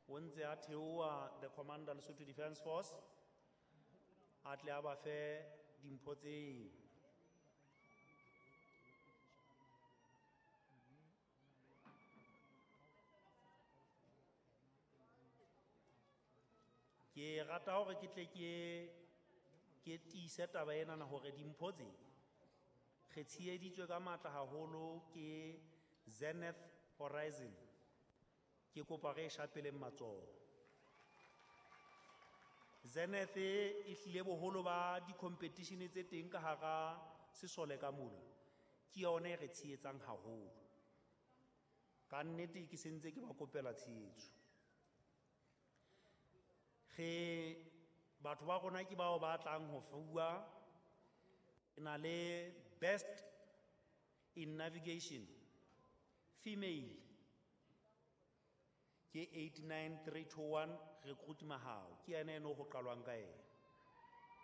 O ntse a theoha the commander Lesotho Defence Force a tle a ba fe dimpho tseo. Ke rata hore ke tle ke tiise taba enana hore dimpho tse re tsheheditswe ka matla haholo ke Zenith Horizon. Ke kopa re e shapeleng matsoho. Zenith e hlile boholo ba di-competition tse teng ka hara sesole ka mona, ke yona e re tshehetsang haholo. Ka nnete ke sentse ke ba kopela tshehetso. Re batho ba rona ke bao ba tlang ho fuwa. Re na le best in navigation female ke 89321 Recruit Mahao, ke yena eno ho qalwang ka yena.